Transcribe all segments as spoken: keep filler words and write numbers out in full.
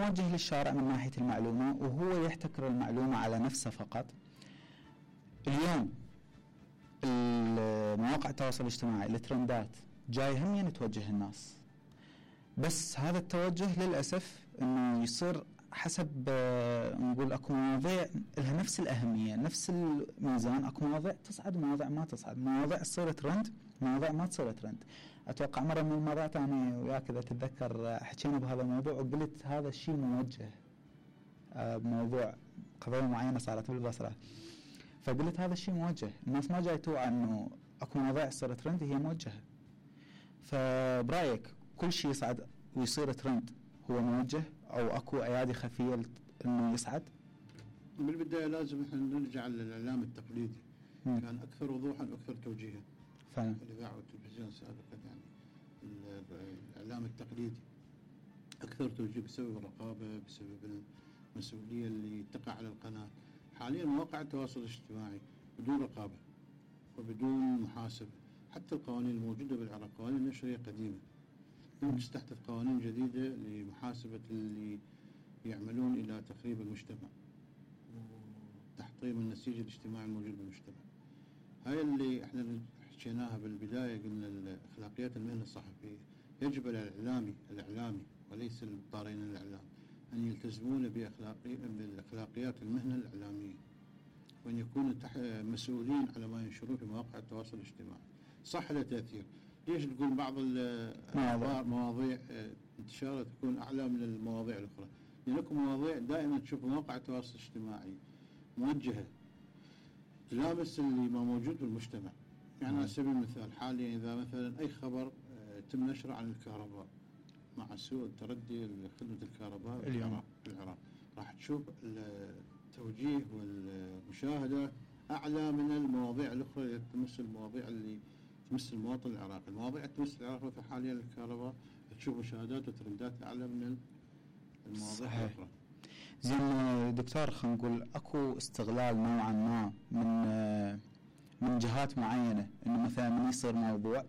موجه للشارع من ناحية المعلومة وهو يحتكر المعلومة على نفسه فقط. اليوم مواقع التواصل الاجتماعي الترندات جاي هم توجه الناس، بس هذا التوجه للأسف انه يصير حسب نقول اكو مواضيع لها نفس الأهمية نفس الميزان، اكو مواضيع تصعد ومواضيع ما تصعد، مواضيع تصير ترند مواضيع ما تصير ترند. اتوقع مرة من المرات انا وياك اذا تتذكر حكينا بهذا الموضوع وقلت هذا الشيء موجه بموضوع قضية معينة صارت بالبصرة، فقلت هذا الشيء موجه، الناس ما جاي توعى انه اكو مواضيع تصير ترند هي موجهة. فبرايك كل شيء يصعد ويصير ترند هو موجه او اكو ايادي خفيه انه يصعد؟ بالبدايه لازم احنا نرجع للاعلام التقليدي. م. كان اكثر وضوحا واكثر توجيها فعلا الاذاعه والتلفزيون سابقا، يعني الاعلام التقليدي اكثر توجيه بسبب الرقابه، بسبب المسؤوليه اللي تقع على القناه. حاليا مواقع التواصل الاجتماعي بدون رقابه وبدون محاسبه، حتى القوانين الموجوده بالعراق قوانين النشريه قديمه، لم تستحدث قوانين جديده لمحاسبه اللي يعملون الى تخريب المجتمع وتحطيم النسيج الاجتماعي الموجود بالمجتمع. هاي اللي احنا حكيناها بالبدايه، قلنا اخلاقيات المهنه الصحفيه يجب على الاعلامي الاعلامي وليس الطارين الاعلام ان يلتزمون باخلاقي بالاخلاقيات المهنه الاعلاميه، وان يكونوا مسؤولين على ما ينشرون في مواقع التواصل الاجتماعي. صح له تاثير، ليش تقول بعض الاخبار مواضيع انتشارها تكون اعلى من المواضيع الاخرى؟ لانكم مواضيع دائما تشوف مواقع التواصل الاجتماعي موجهه تلامس اللي ما موجود بالمجتمع. يعني على سبيل المثال حاليا اذا مثلا اي خبر تم نشره عن الكهرباء مع سوء التردي لخدمه الكهرباء اليوم في العراق، راح تشوف التوجيه والمشاهده اعلى من المواضيع الاخرى اللي تمس المواضيع اللي تمس المواطن العراقي. المواضيع تمس العراق مثل حاليا الكهرباء تشوف مشاهدات وترندات اعلى من المواضيع صحيح. الاخرى. زين دكتور، خلينا نقول اكو استغلال نوعا ما من من جهات معينه، انه مثلا من يصير موضوع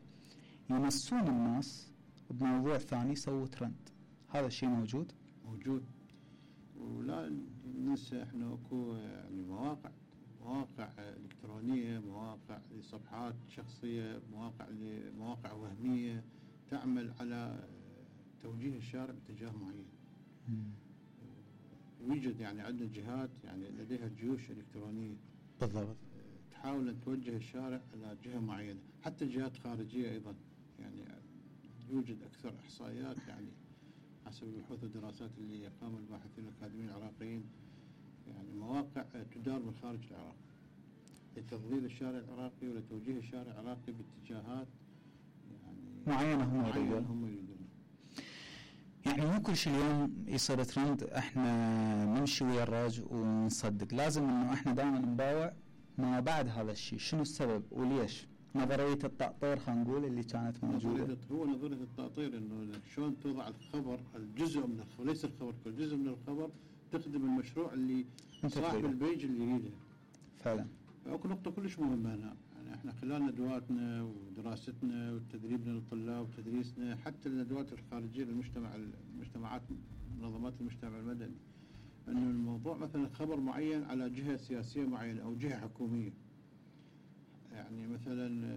يمسون الناس بموضوع ثاني يسووا ترند، هذا الشيء موجود؟ موجود، ولا ننسى احنا اكو يعني مواقع مواقع إلكترونية، مواقع لصفحات شخصية، مواقع لمواقع وهمية تعمل على توجيه الشارع باتجاه معين. يوجد يعني عندنا جهات يعني لديها جيوش إلكترونية بالضبط تحاول أن توجه الشارع على جهة معينة، حتى جهات خارجية أيضا. يعني يوجد أكثر إحصائيات يعني حسب البحوث والدراسات اللي قام الباحثين الأكاديميين العراقيين، يعني مواقع تدار من خارج العراق لتضليل الشارع العراقي ولتوجيه الشارع العراقي باتجاهات يعني معينة هم يريدون هم يريدون. يعني مو كل شيء اليوم يصير ترند احنا نمشي ويا الراج ونصدق، لازم انه احنا دائما نباوع ما بعد هذا الشيء، شنو السبب وليش. نظرية التأطير خلينا نقول اللي كانت موجودة، هو نظرية التأطير انه شلون توضع الخبر الجزء من الخبر ليس الخبر كل جزء من الخبر تخدم المشروع اللي صاحب البيج اللي يريده فعلا. اكو نقطة كلش مهمة هنا، يعني احنا خلال ندواتنا ودراستنا وتدريبنا للطلاب وتدريسنا حتى الندوات الخارجية للمجتمع المجتمعات منظمات المجتمع المدني، انه الموضوع مثلا خبر معين على جهة سياسية معينة او جهة حكومية، يعني مثلا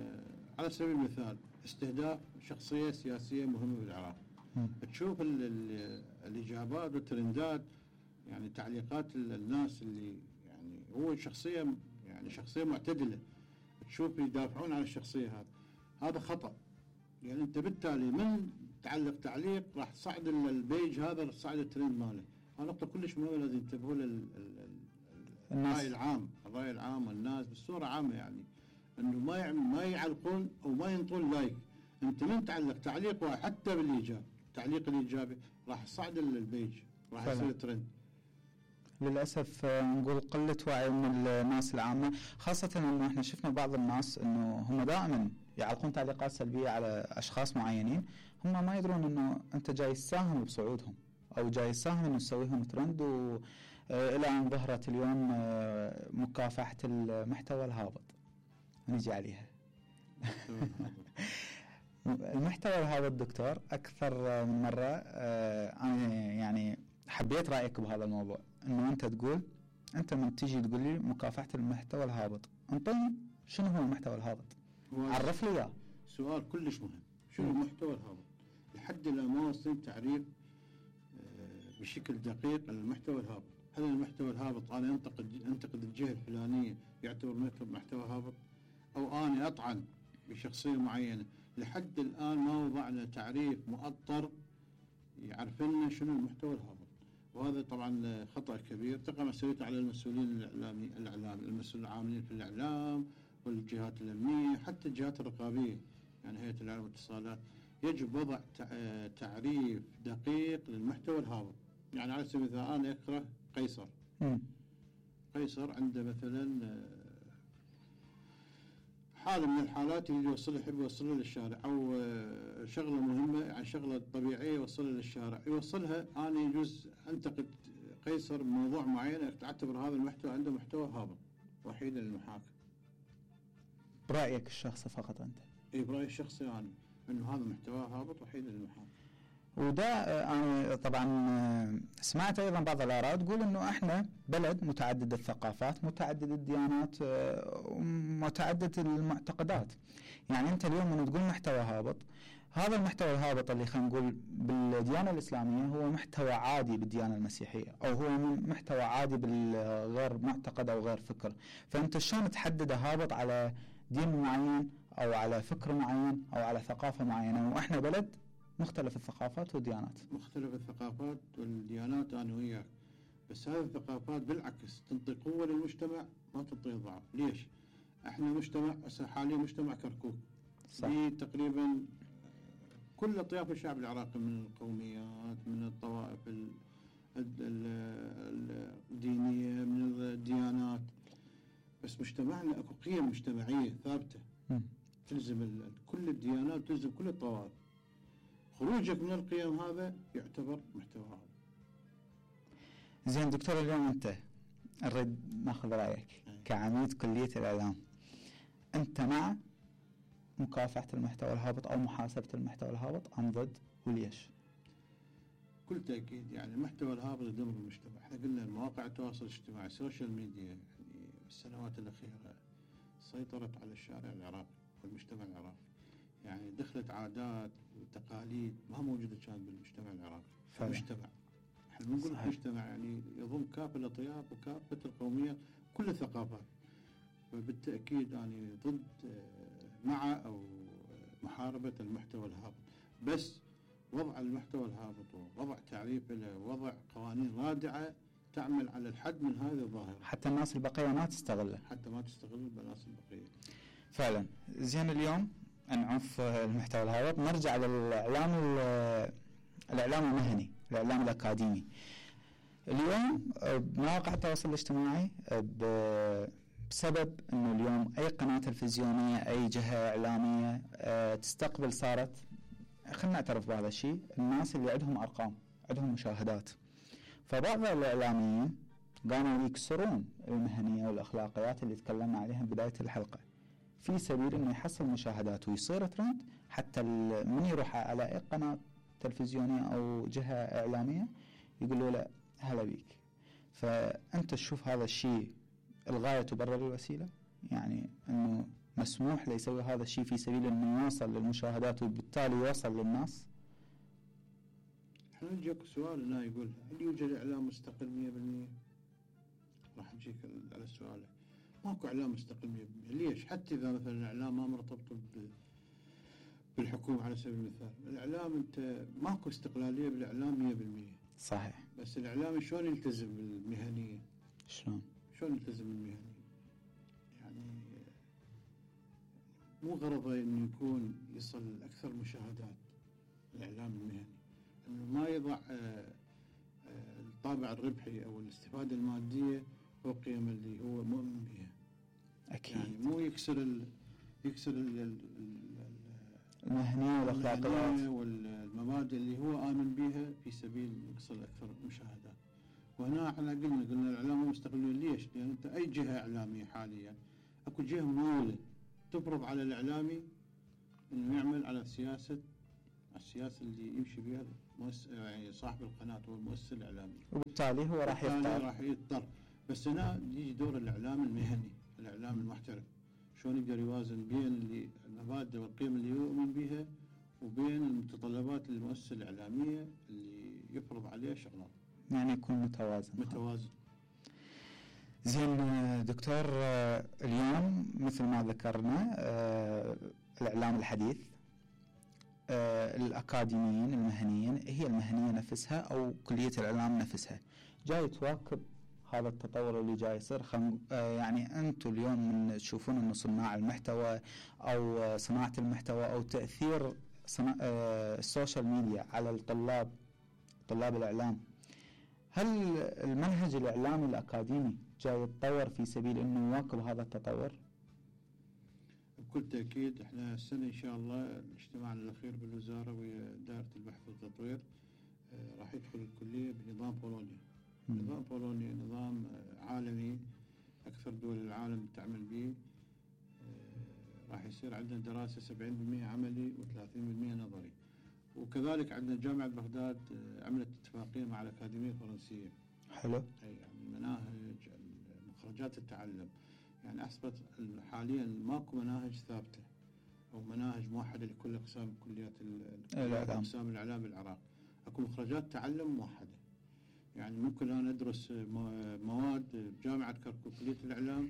على سبيل المثال استهداف شخصية سياسية مهمة بالعراق، تشوف ال ال الإجابات والترندات يعني تعليقات الناس اللي يعني هو شخصية يعني شخصية معتدلة، تشوف يدافعون عن الشخصية هذا، هذا خطأ. يعني أنت بالتالي من تعلق تعليق راح تصعد البيج هذا راح تصعد الترند ماله. هذا نقطة كلش مهمة لازم ينتبهوا للرأي العام الرأي العام والناس بصورة عامة، يعني انه ما يعمل ما يعلقون او ما ينطون لايك. انت من تعلق تعليق واحد حتى بالايجاب التعليق الايجابي راح تصعد البيج راح يصير ترند. للاسف نقول قله وعي من الناس العامه، خاصه انه احنا شفنا بعض الناس انه هم دائما يعلقون تعليقات سلبيه على اشخاص معينين، هم ما يدرون انه انت جاي تساهم بصعودهم او جاي تساهم انه تسويهم ترند، والى ان ظهرت اليوم مكافحه المحتوى الهابط نجي عليها. المحتوى الهابط دكتور أكثر من مرة أنا يعني حبيت رايك بهذا الموضوع، انه انت تقول انت من تجي تقول لي مكافحه المحتوى الهابط، انطيني شنو هو المحتوى الهابط؟ عرف لي اياه. سؤال كلش مهم، شنو المحتوى الهابط؟ لحد الان ما وصلت تعريف بشكل دقيق المحتوى الهابط. هل المحتوى الهابط انا انتقد انتقد الجهه الفلانيه يعتبر محتوى هابط؟ او انا اطعن بشخصيه معينه؟ لحد الان ما وضعنا تعريف مؤطر يعرف لنا شنو المحتوى الهابط، وهذا طبعا خطا كبير تقع مسؤوليته على المسؤولين الاعلامي الاعلام المسؤولين العاملين في الاعلام والجهات الامنيه، حتى الجهات الرقابيه يعني هيئه الاعلام والاتصالات. يجب وضع تعريف دقيق للمحتوى الهابط. يعني على سبيل المثال انا اقرا قيصر م. قيصر عنده مثلا حالة من الحالات اللي يوصلها يحب يوصلها للشارع، او شغله مهمه يعني شغله طبيعيه يوصلها للشارع، يوصلها انا يجوز انتقد قيصر بموضوع معين اعتبر هذا المحتوى عنده محتوى هابط وحيدا للمحاكم. برايك الشخصي فقط انت؟ اي برايي الشخصي انا انه هذا محتوى هابط وحيدا للمحاكم. وده انا طبعا سمعت ايضا بعض الاراء تقول انه احنا بلد متعدد الثقافات، متعدد الديانات، متعدد المعتقدات. يعني انت اليوم من تقول محتوى هابط، هذا المحتوى الهابط اللي خلينا نقول بالديانه الاسلاميه هو محتوى عادي بالديانه المسيحيه، او هو محتوى عادي بالغير معتقد او غير فكر. فانت شلون تحدد هابط على دين معين او على فكر معين او على ثقافه معينه، واحنا بلد مختلف الثقافات والديانات؟ مختلف الثقافات والديانات انا وياك، بس هذه الثقافات بالعكس تعطي قوه للمجتمع ما تعطيه ضعف. ليش؟ احنا مجتمع حاليا مجتمع كركوك. صح. تقريبا كل اطياف الشعب العراقي من القوميات، من الطوائف الدينيه، من الديانات، بس مجتمعنا اكو قيم مجتمعيه ثابته م. تلزم كل الديانات، تلزم كل الطوائف. خروجك من القيم هذا يعتبر محتوى هابط. زين دكتور، اليوم انت نريد ناخذ رايك كعميد كليه الاعلام، انت مع مكافحه المحتوى الهابط او محاسبه المحتوى الهابط ام ضد، وليش؟ بكل تاكيد يعني المحتوى الهابط يدمر المجتمع. احنا قلنا مواقع التواصل الاجتماعي السوشيال ميديا يعني بالسنوات الاخيره سيطرت على الشارع العراقي والمجتمع العراقي، يعني دخلت عادات وتقاليد ما موجوده كانت بالمجتمع العراقي. فمجتمع احنا بنقول مجتمع يعني يضم كافه الاطياف وكافه القوميات كل الثقافات، فبالتاكيد يعني ضد مع او محاربه المحتوى الهابط، بس وضع المحتوى الهابط ووضع تعريف له ووضع قوانين رادعه تعمل على الحد من هذه الظاهره، حتى الناس البقيه ما تستغله، حتى ما تستغل الناس البقيه. فعلا. زين اليوم نعوف المحتوى الهابط، نرجع للاعلام الاعلام المهني، الاعلام الاكاديمي. اليوم بمواقع التواصل الاجتماعي بسبب انه اليوم اي قناه تلفزيونيه اي جهه اعلاميه تستقبل، صارت خلينا نعترف بهذا الشيء، الناس اللي عندهم ارقام، عندهم مشاهدات. فبعض الاعلاميين قاموا يكسرون المهنيه والاخلاقيات اللي تكلمنا عليها بدايه الحلقه في سبيل انه يحصل مشاهدات ويصير ترند، حتى من يروح على اي قناه تلفزيونيه او جهه اعلاميه يقولوا له هلا بيك. فانت تشوف هذا الشيء الغايه تبرر الوسيله؟ يعني انه مسموح له يسوي هذا الشيء في سبيل انه يوصل للمشاهدات وبالتالي يوصل للناس؟ احنا نجيك سؤال هنا يقول هل يوجد اعلام مستقل مية بالمية؟ راح نجيك على السؤال. ماكو اعلام مستقل مية بالمية. ليش؟ حتى اذا مثلا الاعلام ما مرتبط بالحكومه على سبيل المثال، الاعلام انت ماكو استقلاليه بالاعلام مية بالمية. صحيح. بس الاعلام شلون يلتزم بالمهنيه؟ شلون؟ شلون يلتزم بالمهنيه؟ يعني مو غرضه انه يكون يصل اكثر مشاهدات الاعلام المهني، انه ما يضع الطابع الربحي او الاستفاده الماديه فوق قيم اللي هو مؤمن بها. اكيد. يعني مو يكسر ال يكسر ال ال المهنيه والاخلاقيات والمبادئ اللي هو امن بها في سبيل يحصل اكثر مشاهدات. وهنا احنا قلنا قلنا الاعلام مستقلين. ليش؟ لان انت اي جهه اعلاميه حاليا اكو جهه مموله تفرض على الاعلامي انه يعمل على سياسه السياسه اللي يمشي بها مؤسس يعني صاحب القناه هو المؤسسه الاعلاميه، وبالتالي هو راح يختار راح يضطر. بس هنا يجي دور الاعلام المهني، الاعلام المحترف، شلون يقدر يوازن بين اللي المبادئ والقيم اللي يؤمن بها وبين المتطلبات المؤسسه الاعلاميه اللي يفرض عليها شغلات. يعني يكون متوازن. متوازن. زين دكتور، اليوم مثل ما ذكرنا الاعلام الحديث، الأكاديميين المهنيين، هي المهنية نفسها أو كلية الإعلام نفسها جاي تواكب هذا التطور اللي جاي يصير. خل... يعني أنتم اليوم من تشوفون أن صناع المحتوى أو صناعة المحتوى أو تأثير صنا... السوشيال ميديا على الطلاب، طلاب الإعلام، هل المنهج الإعلامي الأكاديمي جاي يتطور في سبيل أنه يواكب هذا التطور؟ بكل تأكيد. احنا السنة إن شاء الله الاجتماع الأخير بالوزارة ودائرة البحث والتطوير اه راح يدخل الكلية بنظام بولونيا. م. نظام بولونيا نظام اه عالمي أكثر دول العالم تعمل به. اه راح يصير عندنا دراسة سبعين بالمئة عملي وثلاثين بالمئة نظري. وكذلك عندنا جامعة بغداد اه عملت اتفاقية مع الأكاديمية الفرنسية. حلو. أي يعني مناهج مخرجات التعلم، يعني أثبت حاليا ماكو مناهج ثابتة أو مناهج موحدة لكل أقسام كليات الإعلام، أقسام الإعلام بالعراق. أكو مخرجات تعلم موحدة، يعني ممكن أنا أدرس مواد بجامعة كركوك كلية الإعلام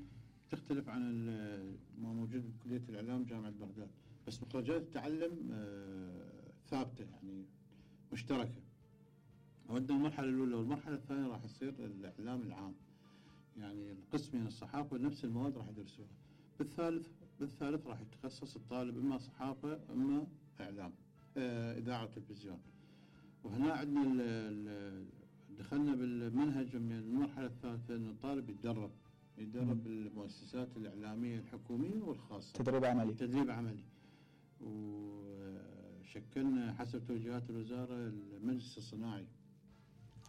تختلف عن ما موجود بكلية الإعلام جامعة بغداد، بس مخرجات التعلم ثابتة يعني مشتركة. ودنا المرحلة الأولى، والمرحلة الثانية راح يصير الإعلام العام، يعني القسم من الصحافة نفس المواد راح يدرسوها. بالثالث بالثالث راح يتخصص الطالب إما صحافة إما إعلام آه إذاعة وتلفزيون. وهنا عندنا دخلنا بالمنهج من المرحلة الثالثة إنه الطالب يتدرب يتدرب بالمؤسسات الإعلامية الحكومية والخاصة، تدريب عملي تدريب عملي. وشكلنا حسب توجيهات الوزارة المجلس الصناعي.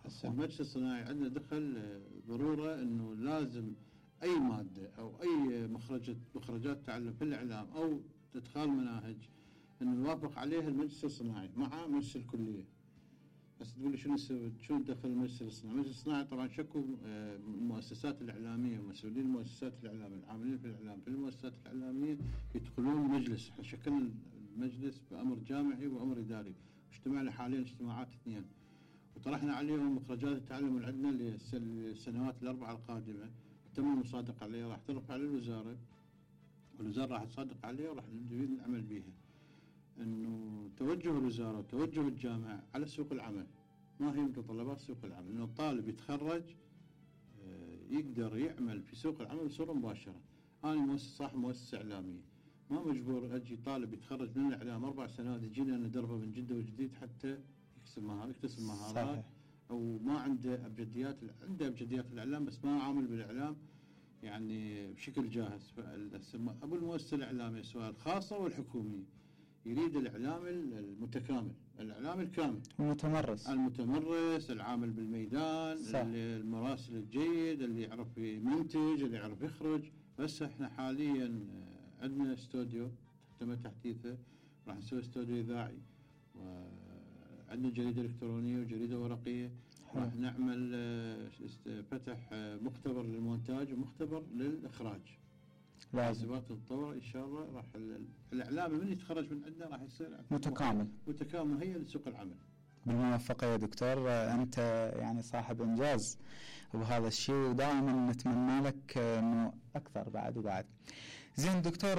هسه المجلس الصناعي عندنا دخل ضرورة انه لازم اي مادة او اي مخرجات مخرجات تعلم في الاعلام او ادخال مناهج انه يوافق عليها المجلس الصناعي مع مجلس الكلية. بس تقول لي شنو شنو دخل المجلس الصناعي؟ المجلس الصناعي طبعا شكوا المؤسسات الاعلامية ومسؤولين المؤسسات الاعلامية العاملين في الاعلام في المؤسسات الاعلامية يدخلون المجلس. احنا شكلنا المجلس بامر جامعي وامر اداري، اجتمعنا حاليا اجتماعات اثنين وطرحنا عليهم مخرجات التعلم اللي عندنا للسنوات الأربعة القادمة. تم المصادقة عليها، راح ترفع للوزارة والوزارة راح تصادق عليها وراح نبدأ نعمل بيها. إنه توجه الوزارة وتوجه الجامعة على سوق العمل، ما هي متطلبات سوق العمل؟ إنه الطالب يتخرج يقدر يعمل في سوق العمل بصورة مباشرة. أنا مؤسس صاحب مؤسسة إعلامية، ما مجبور أجي طالب يتخرج من الإعلام أربع سنوات يجيني أنا ندربه من جدة وجديد حتى يكتسب مهارات او ما عنده ابجديات. عنده ابجديات الاعلام بس ما عامل بالاعلام يعني بشكل جاهز. ابو المؤسسه الاعلاميه سواء الخاصه او الحكوميه يريد الاعلام المتكامل، الاعلام الكامل، المتمرس المتمرس العامل بالميدان، المراسل الجيد اللي يعرف يمنتج اللي يعرف يخرج. بس احنا حاليا عندنا استوديو تم تحديثه، راح نسوي استوديو اذاعي، وعندنا جريدة إلكترونية وجريدة ورقية. راح نعمل فتح مختبر للمونتاج ومختبر للإخراج. حاسبات تتطور إن شاء الله. راح الإعلام من يتخرج من عندنا راح يصير متكامل متكامل هي لسوق العمل. بالموفقة يا دكتور، أنت يعني صاحب إنجاز بهذا الشيء ودائما نتمنى لك إنه أكثر بعد وبعد. زين دكتور،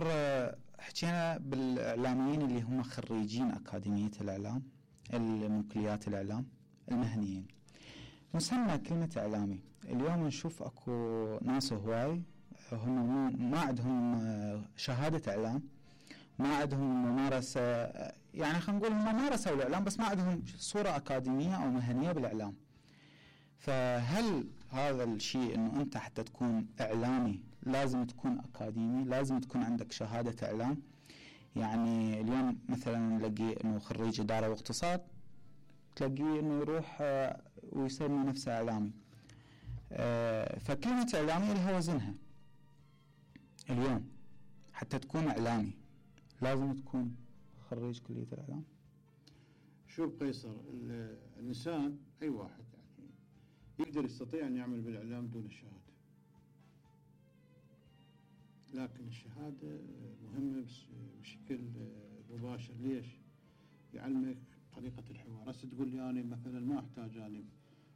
حكينا بالإعلاميين اللي هم خريجين أكاديمية الإعلام من كليات الإعلام المهنيين. مسمى كلمة إعلامي اليوم نشوف أكو ناس هواي هم ما عندهم شهادة إعلام، ما عندهم ممارسة، يعني خلينا نقول هم مارسوا الإعلام بس ما عندهم صورة أكاديمية أو مهنية بالإعلام. فهل هذا الشيء إنه أنت حتى تكون إعلامي لازم تكون أكاديمي، لازم تكون عندك شهادة إعلام؟ يعني اليوم مثلا نلاقي إنه خريج إدارة واقتصاد تلاقيه إنه يروح ويسمي نفسه إعلامي. فكلمة إعلامي لها وزنها. اليوم حتى تكون إعلامي لازم تكون خريج كلية الإعلام؟ شوف قيصر، الإنسان أي واحد يعني يقدر يستطيع أن يعمل بالإعلام دون الشهادة، لكن الشهادة مهمة بشكل مباشر. ليش؟ يعلمك طريقة الحوار. هسه تقول لي أنا مثلا ما أحتاج أنا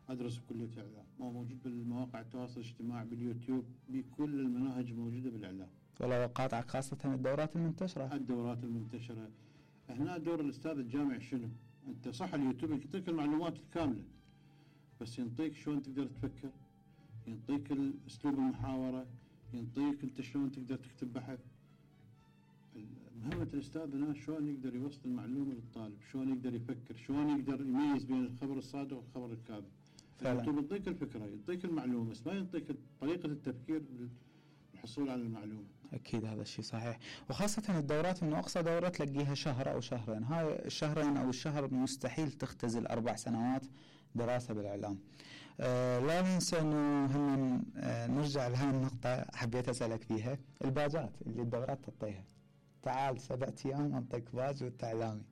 أدرس بكلية الإعلام، ما موجود بالمواقع التواصل الاجتماعي، باليوتيوب، بكل المناهج موجودة بالإعلام. ولا قاطعك، خاصة الدورات المنتشرة. الدورات المنتشرة هنا دور الأستاذ الجامعي شنو؟ أنت صح اليوتيوب يعطيك المعلومات الكاملة، بس ينطيك شلون تقدر تفكر، ينطيك أسلوب المحاورة، ينطيك أنت شلون تقدر تكتب بحث. مهمة الأستاذ هنا شلون يقدر يوصل المعلومة للطالب، شلون يقدر يفكر، شلون يقدر يميز بين الخبر الصادق والخبر الكاذب. اليوتيوب يعطيك الفكرة، يعطيك المعلومة، بس ما يعطيك طريقة التفكير بالحصول على المعلومة. أكيد هذا الشيء صحيح، وخاصة الدورات، إنه أقصى دورة تلاقيها شهر أو شهرين، هاي الشهرين أو الشهر مستحيل تختزل أربع سنوات دراسة بالإعلام. آه لا ننسى إنه هم آه نرجع لهذه النقطة حبيت أسألك فيها، الباجات اللي الدورات تعطيها. تعال سبعة أيام أنطيك باج وأنت إعلامي.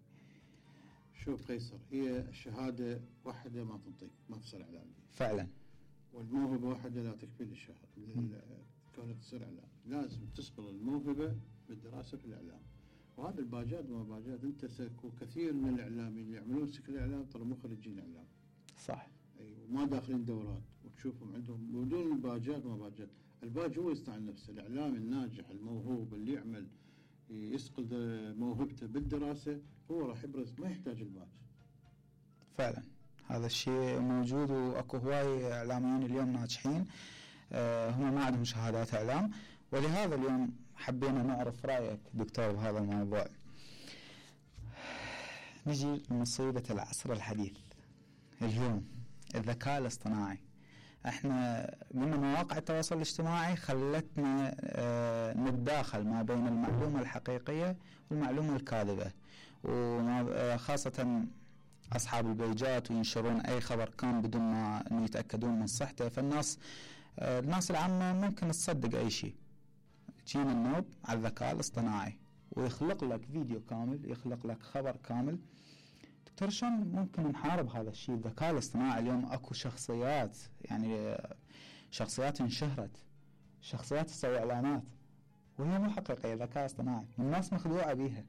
شوف قيصر، هي الشهادة واحدة ما تنطيك، ما تصير إعلامي. فعلا. والموهبة واحدة لا تكفي للشهادة كونك تصير إعلام، لازم تصقل الموهبة بالدراسة في الإعلام. وهذا الباجات ما باجات، أنت سكو كثير من الإعلاميين اللي يعملون سكة الإعلام ترى مو خريجين إعلام. صح. أي وما داخلين دورات، وتشوفهم عندهم بدون الباجات ما باجات. الباج هو يصنع نفسه، الإعلامي الناجح الموهوب اللي يعمل يسقل موهبته بالدراسة هو راح يبرز، ما يحتاج الباج. فعلا هذا الشيء موجود، واكو هواي اعلاميين اليوم ناجحين آه هم ما عندهم شهادات اعلام، ولهذا اليوم حبينا نعرف رايك دكتور بهذا الموضوع. نجي لمصيبة العصر الحديث اليوم، الذكاء الاصطناعي. احنا قلنا مواقع التواصل الاجتماعي خلتنا اه نتداخل ما بين المعلومة الحقيقية والمعلومة الكاذبة، وخاصة أصحاب البيجات وينشرون أي خبر كان بدون ما يتأكدون من صحته. فالناس اه الناس العامة ممكن تصدق أي شيء. جينا النوب على الذكاء الاصطناعي ويخلق لك فيديو كامل، يخلق لك خبر كامل. دكتور شلون ممكن نحارب هذا الشيء؟ الذكاء الاصطناعي اليوم اكو شخصيات، يعني شخصيات انشهرت، شخصيات تسوي اعلانات وهي مو حقيقيه، ذكاء اصطناعي، والناس مخدوعه بيها.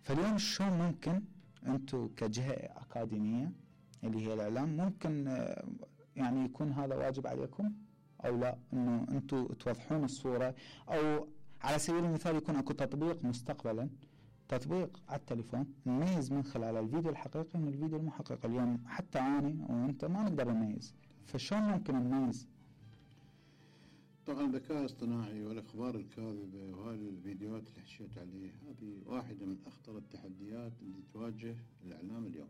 فاليوم شلون ممكن انتم كجهه اكاديميه اللي هي الاعلام ممكن يعني يكون هذا واجب عليكم او لا، انه انتم توضحون الصوره، او على سبيل المثال يكون اكو تطبيق مستقبلا، تطبيق على التليفون نميز من خلال الفيديو الحقيقي من الفيديو المحقق. اليوم حتى أنا وأنت ما نقدر نميز، فشون ممكن نميز؟ طبعا الذكاء الاصطناعي والأخبار الكاذبة وهذه الفيديوهات اللي حكيت عليه، هذه واحدة من أخطر التحديات اللي تواجه الإعلام اليوم.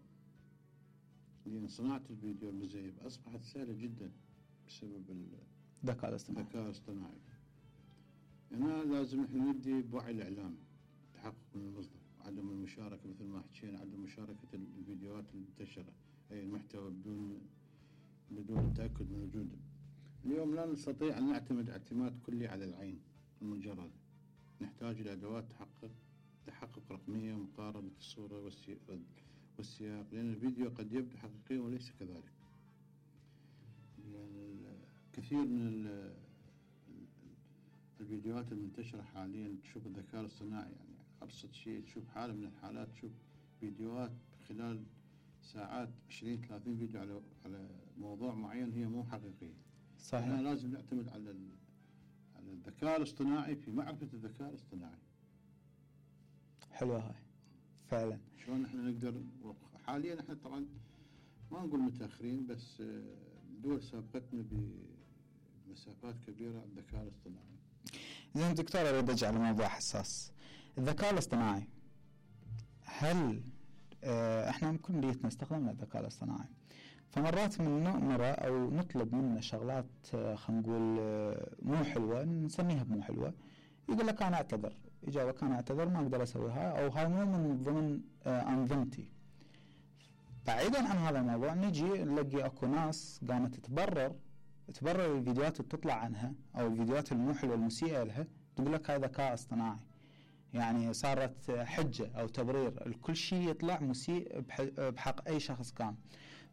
لأن صناعة الفيديو المزيف أصبحت سهلة جدا بسبب الذكاء الاصطناعي. الذكاء الاصطناعي. هنا لازم احنا ندي بوعي الإعلام، تحقق من المصدر، عدم المشاركة مثل ما حكينا، عدم مشاركة الفيديوهات المنتشرة، أي المحتوى بدون بدون تأكد من وجوده. اليوم لا نستطيع أن نعتمد اعتماد كلي على العين المجردة، نحتاج إلى أدوات تحقق تحقق رقمية ومقارنة الصورة والسياق، لأن الفيديو قد يبدو حقيقيا وليس كذلك. يعني كثير من الفيديوهات المنتشرة حاليا تشوف الذكاء الاصطناعي، يعني أبسط شيء تشوف حالة من الحالات تشوف فيديوهات خلال ساعات عشرين ثلاثين فيديو على على موضوع معين هي مو حقيقية. صحيح. هنا لازم نعتمد على على الذكاء الاصطناعي في معرفة الذكاء الاصطناعي. حلوة هاي فعلا. شلون احنا نقدر حاليا، احنا طبعا ما نقول متأخرين، بس الدول سابقتنا بمسافات كبيرة على الذكاء الاصطناعي. زين دكتور، أريد أرجع لموضوع حساس، الذكاء الاصطناعي. هل اه احنا ممكن نريد نستخدم الذكاء الاصطناعي، فمرات من نأمره أو نطلب منه شغلات اه خلينا نقول اه مو حلوة، نسميها بمو حلوة، يقول لك أنا أعتذر، إجابة كان أعتذر ما أقدر أسويها، أو هاي مو من ضمن اه أنظمتي. بعيدا عن هذا الموضوع نجي نلاقي أكو ناس قامت تبرر تبرر الفيديوهات اللي تطلع عنها أو الفيديوهات المو حلوة المسيئة لها، تقول لك هاي ذكاء اصطناعي. يعني صارت حجة أو تبرير الكل شيء يطلع مسيء بحق أي شخص كان.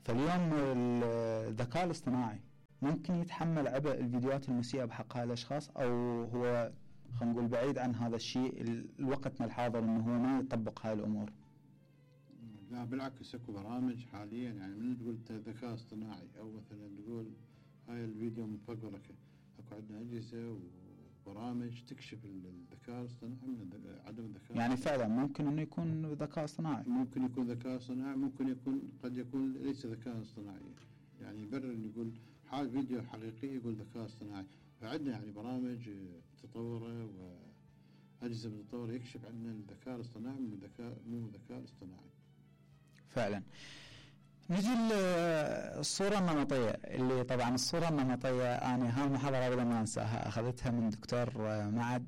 فاليوم الذكاء الاصطناعي ممكن يتحمل عبء الفيديوهات المسيئة بحق هؤلاء الأشخاص، أو هو خلينا نقول بعيد عن هذا الشيء الوقتنا الحاضر انه هو ما يطبق هاي الامور؟ لا بالعكس، اكو برامج حاليا يعني من تقول ذكاء اصطناعي او مثلا تقول هاي الفيديو مفبرك، اكو عندنا اجهزه وبرامج تكشف الذكاء الاصطناعي من عدم الذكاء. يعني فعلا ممكن انه يكون ذكاء اصطناعي، ممكن يكون ذكاء اصطناعي، ممكن يكون قد يكون ليس ذكاء اصطناعي، يعني يبرر يقول حال فيديو حقيقي يقول ذكاء اصطناعي. فعندنا يعني برامج متطوره واجهزه متطوره يكشف عندنا الذكاء الاصطناعي من الذكاء مو الذكاء الاصطناعي. فعلا. نجي للصوره النمطيه، اللي طبعا الصوره النمطيه انا هاي المحاضره ابدا ما انساها، اخذتها من دكتور معد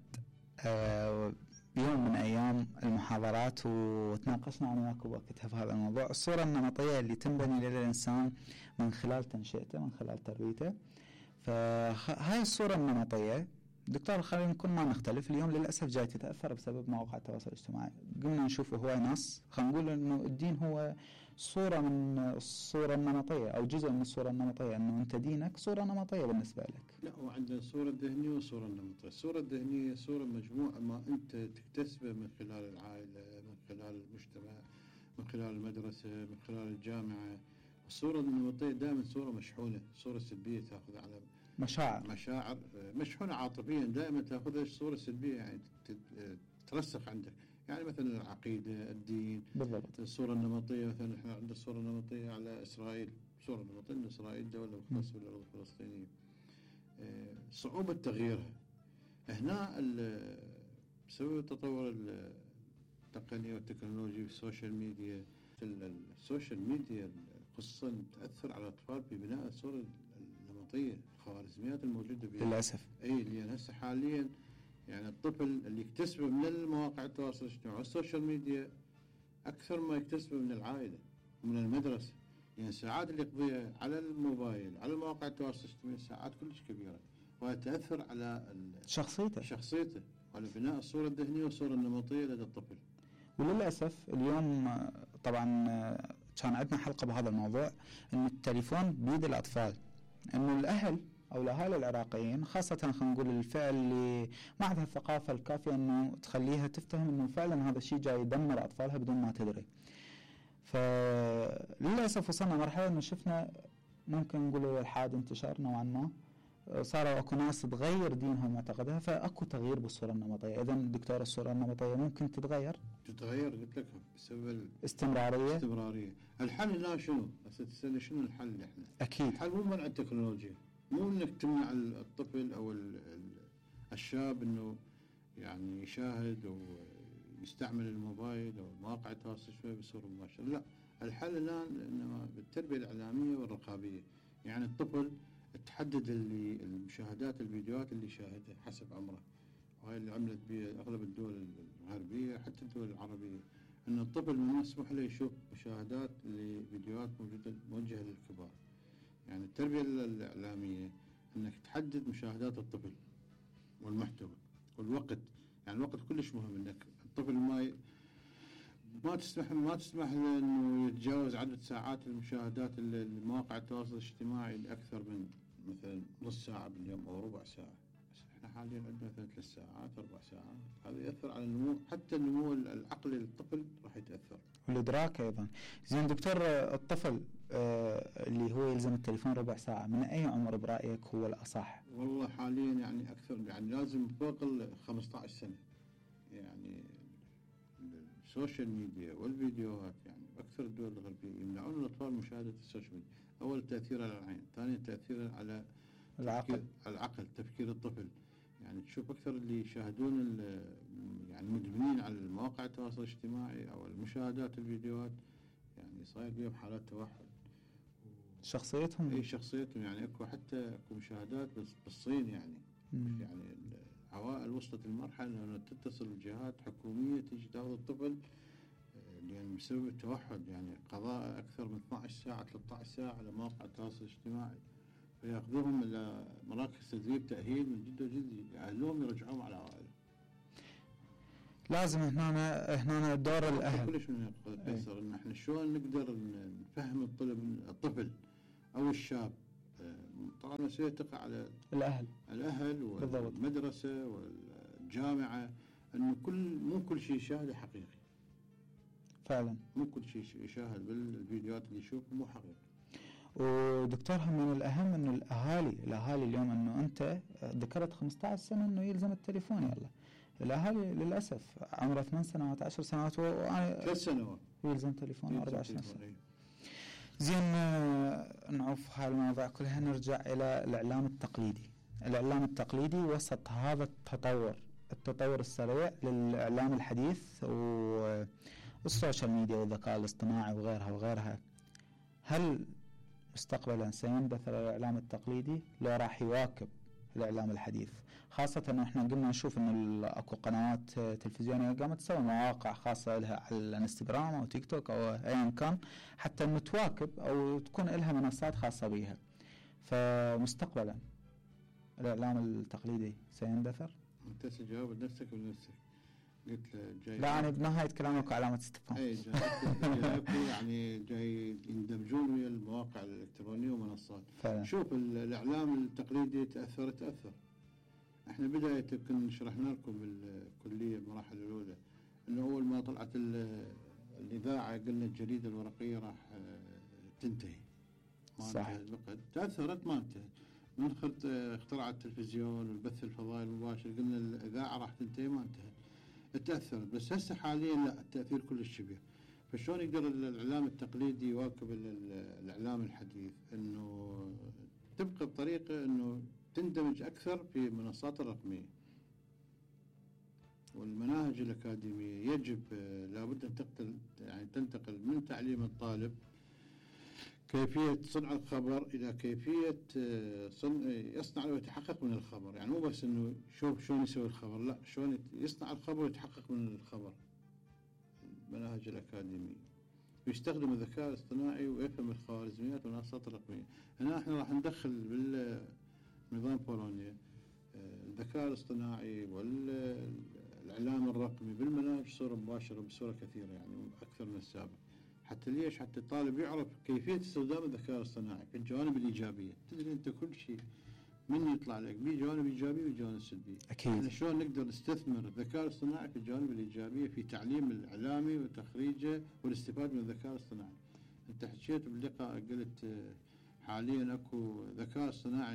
بيوم من ايام المحاضرات وتناقشنا انا وياك وقتها في هذا الموضوع. الصوره النمطيه اللي تنبني للانسان من خلال تنشئته، من خلال تربيته. فهاي الصوره النمطيه دكتور خلينا نكون ما نختلف، اليوم للاسف جاي تتاثر بسبب مواقع التواصل الاجتماعي. قمنا نشوف هواي ناس خلينا نقول انه الدين هو صوره من الصوره النمطيه او جزء من الصوره النمطيه، انه انت دينك صوره نمطيه بالنسبه لك. لا، وعندنا الصوره الذهنيه والصوره النمطيه. الصوره الذهنيه صوره مجموعه ما انت تكتسبه من خلال العائله، من خلال المجتمع، من خلال المدرسه، من خلال الجامعه. الصوره النمطيه دائما صوره مشحونه، صوره سلبيه تاخذ على مشاعر مشاعر مشحونه عاطفيا، دائما تاخذها صوره سلبيه يعني ترسخ عندك. يعني مثلا العقيده، الدين. بالضبط. الصوره النمطيه مثلا احنا عندنا الصوره النمطيه على اسرائيل، صوره نمطيه ان اسرائيل دوله مختصه بالارض الفلسطينيه، صعوبه تغييرها. هنا بسبب تطور التقنيه والتكنولوجيا والسوشيال ميديا، السوشيال ميديا خصوصا تاثر على الاطفال ببناء الصوره النمطيه، الخوارزميات الموجوده بها للاسف. اي اللي هسه حاليا يعني الطفل اللي يكتسبه من المواقع التواصل الاجتماعي والسوشيال ميديا اكثر ما يكتسبه من العائله ومن المدرسه. يعني الساعات اللي يقضيها على الموبايل على مواقع التواصل الاجتماعي ساعات كلش كبيره، وهي تاثر على شخصيته شخصيته وعلى بناء الصوره الذهنيه والصوره النمطيه لدى الطفل. وللاسف اليوم طبعا كان عندنا حلقه بهذا الموضوع، انه التليفون بيد الاطفال، انه الاهل او الاهالي العراقيين خاصه خلينا نقول الفئه اللي ما عندها الثقافه الكافيه انه تخليها تفتهم انه فعلا هذا الشيء جاي يدمر اطفالها بدون ما تدري. فللاسف وصلنا مرحله انه شفنا ممكن نقول الالحاد انتشار نوعا ما، صاروا اكو ناس تغير دينها ومعتقدها، فاكو تغيير بالصوره النمطيه. اذا دكتور الصوره النمطيه ممكن تتغير؟ تتغير قلت لك بسبب استمراريه. استمراريه. الحل لا شنو؟ هسه تسالني شنو الحل احنا؟ اكيد الحل مو منع التكنولوجيا، مو انك تمنع الطفل او الشاب انه يعني يشاهد ويستعمل الموبايل او مواقع التواصل الاجتماعي بصوره مباشره، لا. الحل الان انما بالتربيه الاعلاميه والرقابيه. يعني الطفل تحدد اللي المشاهدات الفيديوهات اللي يشاهدها حسب عمره، وهي اللي عملت بها اغلب الدول الغربيه حتى الدول العربيه، ان الطفل ما مسموح له يشوف مشاهدات لفيديوهات موجوده موجهه للكبار. يعني التربيه الاعلاميه انك تحدد مشاهدات الطفل والمحتوى والوقت. يعني الوقت كلش مهم، انك الطفل ما ي... ما تسمح ما تسمح له انه يتجاوز عدد ساعات المشاهدات المواقع التواصل الاجتماعي لاكثر من مثلا نص ساعه باليوم او ربع ساعه. بس احنا حاليا عندنا مثلا ثلاث ساعات اربع ساعات، هذا ياثر على النمو، حتى النمو العقلي للطفل راح يتاثر، والادراك ايضا. زين دكتور، الطفل آه اللي هو يلزم التليفون ربع ساعه من اي عمر برايك هو الاصح؟ والله حاليا يعني اكثر، يعني لازم فوق ال خمسة عشر سنه. يعني السوشيال ميديا والفيديوهات، يعني اكثر الدول الغربيه يمنعون الاطفال مشاهده السوشيال ميديا. اول تاثير على العين، ثانيا تاثير على العقل، على العقل تفكير الطفل. يعني تشوف اكثر اللي يشاهدون يعني مدمنين على المواقع التواصل الاجتماعي او المشاهدات الفيديوهات، يعني صاير بهم حالات توحد شخصيتهم. اي شخصيتهم يعني اكو حتى اكو مشاهدات بالصين يعني مم. يعني العوائل وصلت المرحله انه تتصل بجهات حكوميه تيجي تاخذ الطفل يعني بسبب التوحد، يعني قضاء اكثر من اثنعش ساعه ثلاثة عشر ساعه على مواقع التواصل الاجتماعي، فياخذوهم الى مراكز تدريب تاهيل من جد وجد، يأهلوهم يرجعوهم على عوائلهم. لازم هنا هنا دور الاهل كلش من قيصر ان احنا شلون نقدر نفهم الطلب الطفل او الشاب. طبعا المسؤوليه تقع على الاهل الاهل والمدرسه والجامعه، انه كل مو كل شيء يشاهده حقيقي. فعلا مو كل شيء يشاهد بالفيديوهات اللي يشوفه مو حقيقي. ودكتور هم من الاهم انه الاهالي الاهالي اليوم انه انت ذكرت خمسة عشر سنه انه يلزم التليفون. يلا الاهالي للاسف عمره ثمان سنوات عشر سنوات وانا ثلاث سنوات يلزم تليفون اربع سنوات. زين نعوف هاي المواضيع كلها، نرجع الى الاعلام التقليدي. الاعلام التقليدي وسط هذا التطور التطور السريع للاعلام الحديث والسوشيال ميديا والذكاء الاصطناعي وغيرها وغيرها، هل مستقبلا سيندثر الاعلام التقليدي لو راح يواكب الاعلام الحديث؟ خاصة انه احنا قمنا نشوف انه اكو قنوات تلفزيونية قامت تسوي مواقع خاصة لها على الانستغرام او تيك توك او ايا كان، حتى انه تواكب او تكون لها منصات خاصة بها. فمستقبلا الاعلام التقليدي سيندثر؟ انت تجاوب بنفسك بنفسك. قلت له جاي لا انا بنهاية كلامك علامة استفهام. اي جاي يعني جاي يندمجون ويا المواقع الالكترونية ومنصات. فعلا. شوف الاعلام التقليدي تاثر تاثر. احنا بداية كنا شرحنا لكم بالكلية المراحل الاولى انه اول ما طلعت الاذاعة قلنا الجريدة الورقية راح تنتهي. صح. تاثرت ما انتهت. من اخترع التلفزيون والبث الفضائي المباشر قلنا الاذاعة راح تنتهي ما انتهت. تأثرت، بس هسه حاليا لا، التأثير كلش كبير. فشلون يقدر الإعلام التقليدي يواكب الإعلام الحديث؟ إنه تبقى بطريقة إنه تندمج أكثر في المنصات الرقمية والمناهج الأكاديمية. يجب لابد أن تقتل يعني تنتقل من تعليم الطالب كيفية صنع الخبر إلى كيفية صنع يصنع ويتحقق من الخبر. يعني مو بس إنه شوف شلون يسوي الخبر، لا، شلون يصنع الخبر ويتحقق من الخبر. المناهج الأكاديمية ويستخدم الذكاء الاصطناعي ويفهم الخوارزميات والمنصات الرقمية. هنا احنا راح ندخل بالنظام بولونيا الذكاء الاصطناعي والإعلام الرقمي بالمناهج بصورة مباشرة بصورة كثيرة، يعني أكثر من السابق. حتى ليش؟ حتى الطالب يعرف كيفية استخدام الذكاء الاصطناعي في الجوانب الإيجابية. تدري أنت كل شيء من يطلع لك به جوانب إيجابية وجوانب سلبية. أكيد. يعني شلون نقدر نستثمر الذكاء الاصطناعي في الجوانب الإيجابية في تعليم الإعلامي وتخريجه والاستفادة من الذكاء الاصطناعي. أنت حكيت باللقاء قلت حاليا أكو ذكاء اصطناعي